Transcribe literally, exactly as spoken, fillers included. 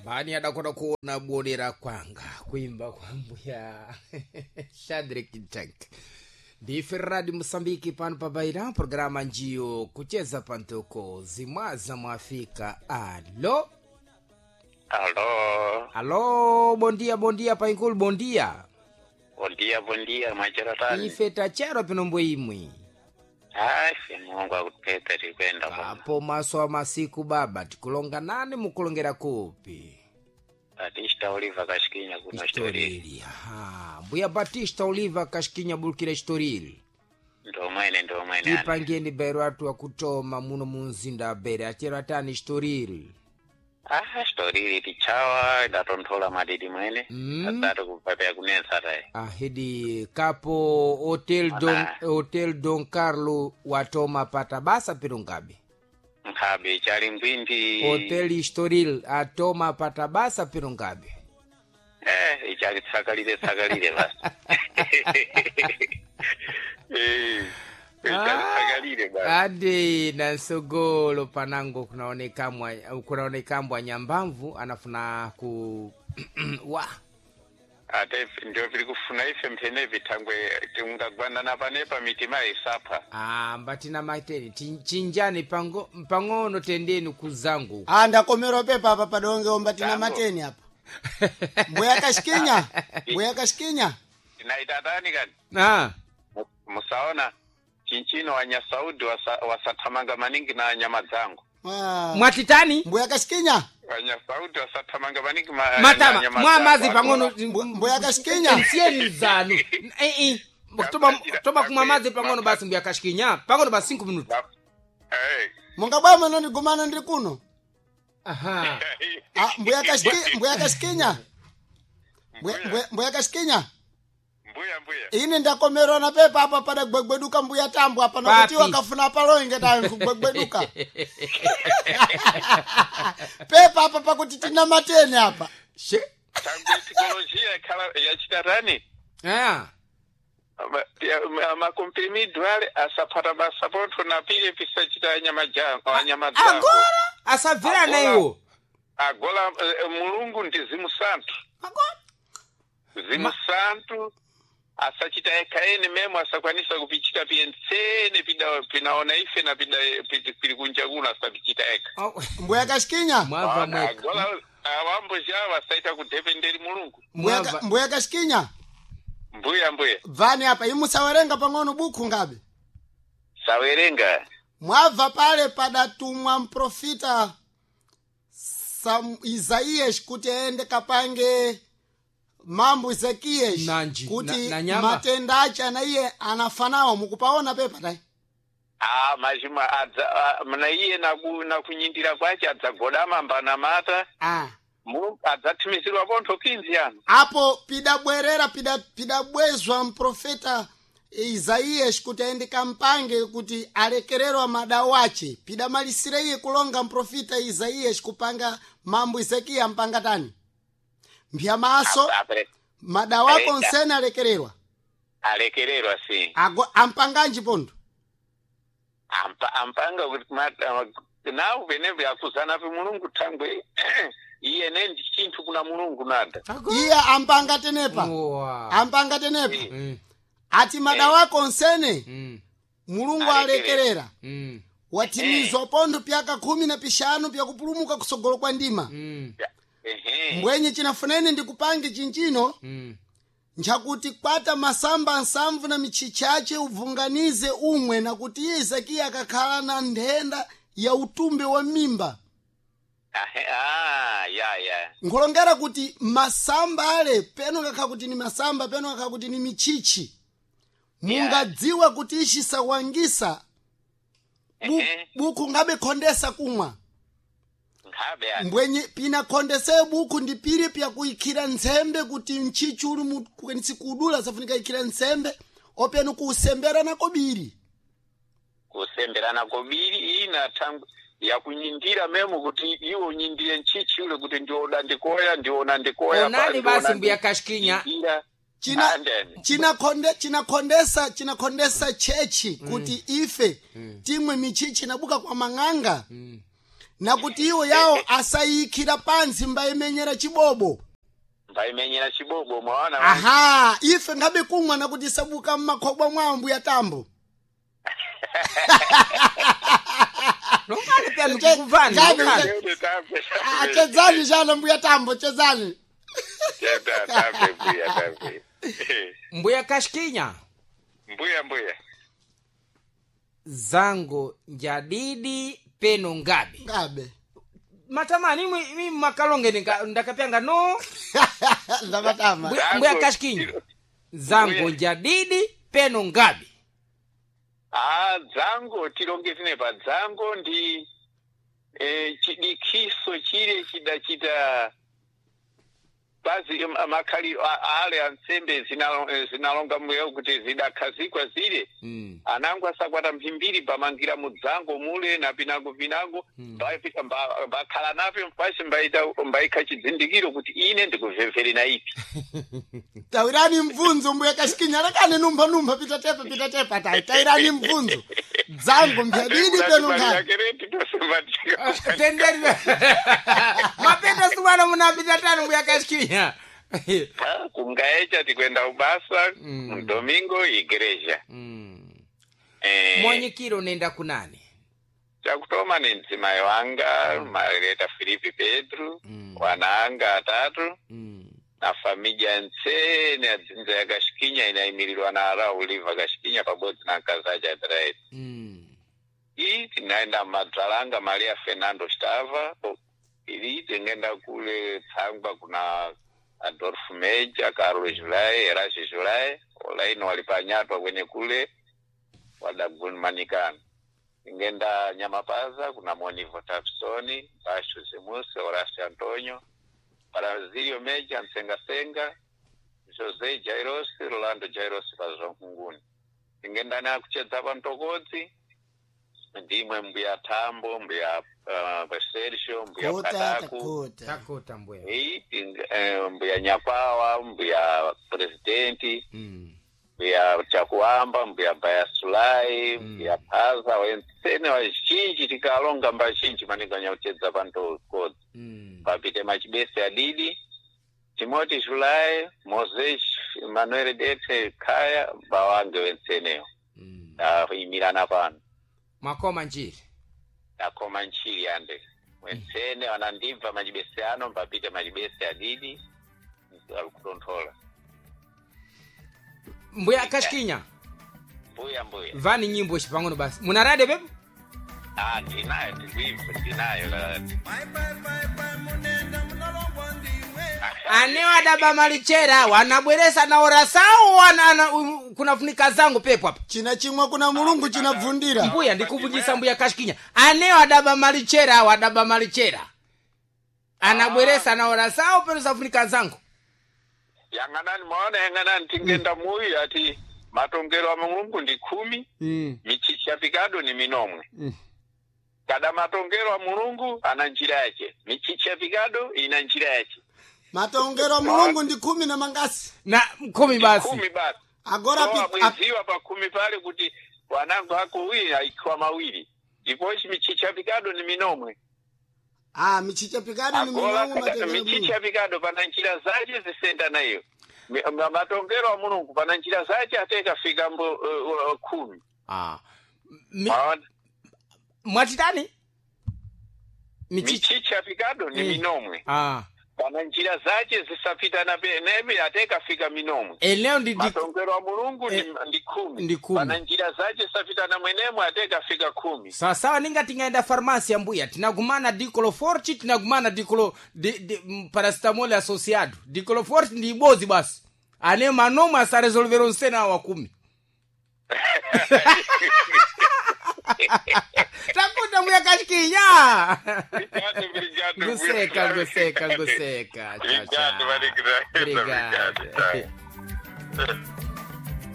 Yambani adakona kuona bonera kwanga kuimba kwa mbuya Shadrack Tank ndife radi Mosambiki pano pabaira programa njiyo kucheza pantoko zimwaza mwafika. Alo Alo, alo, bondia bondia painkulu bondia. bondia bondia mwacheratani. Ife tachero pinombo imwe Asi Mungu akupeta tikwenda bwana. apo maso a masiku baba tikulonga nani mukulongera kupi Batista Oliva kashikinya kuno Estoril. Estoril. Aha. Mbuya Batista Oliva kashikinya bulukira Estoril. Ndo mwene ndo mwene. ane. Tipangeni bero atu akutoma muno munzinda abere achero atani Estoril. Ah, Estoril tichawa idatonthola madidi mwene. Mm. Asati kupapea kunetsa tayi. Ahidi kapo Hotel Don, Ana. Hotel Don Carlo watoma pata basa pirungabe. Nkhabe chali ngwindi. Hotel Estoril atoma pata basa pirungabe. Eh, ichali tsakalire tsakalire basi. Eh, ichali tsakalire basi. Ade na nsogolo panango kunaonekamwa kunaonekambwa nyambamvu anafuna ku wa Ate ndio vili kufuna ife mphene vitangwe tingagwanana panepa mitima isapha. Ah, mbatina mateni Tin- chinjani pango pang'ono tendeni kuzangu Ah, ndakomerwa pepa apa padonge omba tina Tango. mateni apa. Mbuya kashikinya, mbuya kashikinya. Tinaitatani kani? ah Mu- Musaona chinchino wanyasaudi wasa- wasathamanga maningi na nyama dzangu. Ah, mwatitani mbuya kashikinya, Wanyasaudi wasathamanga maningi ma, na matama nyama mwa mazi dzangu. pang'ono mbuya kashikinya. nsiyeni zanu eh eh toma toma kumwa mazi pang'ono basi mbuya kashikinya pang'ono basi cinco minutos Ba- Eh. Mungabwama nondigumana ndiri kuno. aha Ah, mbuya kashiki, mbuya kashikinya. Mbuya- Mbuya, Mbuya mbuya kashikinya. mbuya mbuya. Ine ndakomerwa na pepa apa pada gwegweduka mbuya tambo apa nakuti Papi. wakafuna palonge tayo kugwegweduka. Pepa apa pakuti tina mateni apa. she Tangwe tikolojia ikhala yachitatani? ah Makomprimido ale asaphata basa pontho na pile pisachita nyama jangu, nyama dzangu. agora asabvirana Agora. iwo Agola eh, mulungu ndi zimusantu. agora Zimusantu asachita eka ene memo asakwanisa kupichita piyentsene pida pinaona ife na pida pili pili kunja kuno asapichita eka. Oh, Mbuya kashikinya. mwava Ona, mweka agola awambo jawo asaita kudependeri mulungu. Mbuya ka- mwava mbuya kashikinya. Mbuya mbuya. Bvani apa imusawerenga pang'ono buku ngabe. Sawerenga. Mwabva pale padatumwa mprofita Sam, Isaías kuti aende kapange mambo Ezekias Nanji, kuti na- na nyama. matenda ache ana iye anafanawo mukupaona pepa tai Ah, machimwa adza ah, mna iye naku nakunyindira kwache adzagodama mbanamata ah. mulungu adzathimizirwa pontho kinzi ano. apo pidabwerera pida- pidabwezwa mprofeta Isaías kuti aende kampange kuti alekererwa madawo ache pidamalisire iye kulonga mprofita Isaías kupanga mambo Ezekiya mpanga tani mpya maso Apre- madawo ako Aita. nsene alekererwa Alekererwa si. Ago, ampanganji pondo Ampa, ampanga kuti ma- nawo penepo akuzana pe mulungu thangwe iye ne ndi chinthu kuna mulungu nada. agora iye ampanga tenepa Wa. ampanga tenepa Mm, ati madawo ako nsene mm, mulungu Alekerera. alekerera mm, watimizwa pondo pyaka khumi na pixanu pyakupulumuka kusogolo kwa ndima mm, Ehe. mbwenye chinafunene ndikupange chinchino mm. nchakuti kwata masamba nsamvu na michichache ubvunganize umwe nakuti iye Ezekiya akakhala na nthenda ya utumbe wa mimba Ahe, ah, ya ya. nkulongera kuti masamba ale peno ngakhala kuti ni masamba peno ngakhala kuti ni michichi mungadziwa kuti ichi sawangisa bu, Ehe. buku ngabe khondesa kumwa Nkhabe ani. mbwenye pinakhondeseye buku ndi pili pyakuikhira ntsembe kuti mchichi uli mu- kwenisi kudula safunika ikhira ntsembe openo kuusembera nako biri Kusemberana kobiri ina thangwe yakunyindira memo kuti iwe unyindire nchichi ule kuti ndioda ndikoya ndiona ndikoya onani basi mbuya kashikinya nyindira. china Andeni. chinakhonde chinakhondesa chinakhondesa chechi kuti ife timwe michichi inabuka kwa mang'anga Nakuti iwo yawo asayikhira pansi mbayimenyera chibobo. Mbaimenyera chibobo mwaona. Aha, ife ngabe kumwa nakuti sabuka mmakhobwa mwawo mbuya Tambo. Longani pya ndikukuvani. Chabe- Longani. Tete, tambe, Ah, tambe. chezani chana mbuya Tambo, chezani. Tete, tambe, mbuya, tambe. Mbuya Kashikinya. Mbuya, mbuya. Zango njadidi peno ngabe. Ngabe. Matamani imwe imi makalonge ndika- ndakapyanga no. Ndamatama. Mbuya, mbuya Kashikinya. Zango Mbuya. njadidi peno ngabe. Ah, dzango tilonge tine pa dzango ndi eh, chidikiso chile chidachita bazi makhali ale ansembe zinalo- eh, zinalonga mweyo kuti zidakhazikwa zile. Mm. Anango asakwata mphimbiri pamangira mudzango mule na pinango pinango. Mm. Mbapita mba- mbakhala napyo mpasi mbaita mbaikha chidzindikiro kuti ine ndikuvhevhere na ipi. Tawirani mvunzo mbuya Kashikinya, lakani numpha numpha pita tepa pita tepa tayi. Tawirani mvunzo. Dzango mbyadidi peno ngabe. Tenderi. Mapenda sumana munapita tano mbuya Kashikinya. Kungaecha tikwenda ubasa. Mm. Mdomingo igreja. Mm. Eh, Monyikiro nenda kunani? Chakutoma ni mdzimai wanga Margareta Filipi Pedro. Mm. Wana anga atatu. Mm. Na familia ntsene adzinza ya Kashikinya inayimirirwa na Arauliva Kashikinya pabodzi na nkazacha Adelaide. Mm. Iyi tinaenda madzalanga Maria Fernando Stava. Ili tingenda kule Tsangwa kuna Adolfo Meja, Carlos Julai, Erasio Julai, olaino walipanyatwa kwenye kule wadagumanikana. Tingenda Nyamapaza kuna Monivo Tapsoni, Basho Zemuse, Horacio Antonio, Brasilio Meja, Nsengasenga, Jose Jairos, Rolando Jairos pazvankunguni. Tingenda nakuchedza pamtokodzi ndimwe mbuya Tambo, mbuya uh, Sergio, mbuya Kota Kataku. takota. Takota mbuya. Ei, ting- eh, mbuya Nyakwawa, mbuya presidenti, Mm. mbuya Chakuamba, mbuya Bayasulai, Mm. mbuya Phaza, wensene wazhinji tikalonga mbazhinji maningi anyauchedza pantokodzi. Mm. Papite machibese adidi Timothy Julai, Moses Manuel Dete Kaya bawange wenseneyo. Mm. Tayimirana pano. Makoma njiri. Takoma nchili ande wensene wanandibva machibese ano mbapite machibese adidi alikutonthola. Mbuya Kashikinya. Mbuya, mbuya. Vani nyimbo chipang'ono basi. Munarade pepo? Ah, ndinayo, ndikuibva ndinayo. Ane wadaba malichera wanabweresa na orasao wana, ana, um, kunafunika zangu pepo apa. China chimwe kuna mulungu chinabvundira. Mbuya ndikuvunjisa mbuya Kashikinya. Ane wadaba malichera wadaba malichera. Anabweresa na orasao peno safunika zangu. Yang'anani mwaona, yang'anani tingenda muyu ati matongero a mulungu ndi khumi. Mm. Michicha pikado ni minomwe. Mm. Kada matongero a mulungu ana njira yache, michicha pikado ina njira yache. Matongero a mulungu ndi khumi na mangasi. Na kumi basi. Khumi basi. Agora So pi- ap- abweziwa pa khumi pale kuti wanangu ako wili aikiwa mawiri ndipochi michicha pikado ni minomwe. Ah, michicha pikado ni Agola minomwe kada matongero a mulungu. michicha pikado pana njira zache zisenda nayo. Mi- ma- matongero a mulungu pana njira zache atekafika mbo uh, uh, khumi. Ah. Mi, Maona? mwatitani? Michicha. Michicha pikado ni Mm. minomwe. Ah. Pana njira zache zisapitana penebe atekafika minomwe. Eneo ndi ndi Matongero a mulungu Eh, ni, ndi khumi. ndi khumi. Pana njira zache zisapitana mwenemwe atekafika khumi. Sawasawa ninga tingaenda farmasi ya mbuya tinagumana dicloforti tinagumana diclo di, di, mm, paracetamol associado dicloforti ndi ibozi basi ane manomwe asaresolvero nsena awa kumi. Takuta mbuya Kashikinya. Obrigado, obrigado. Nguseka, nguseka, nguseka. Tchau, Obrigado, tchau. Maria Graça. Obrigado. Obrigado.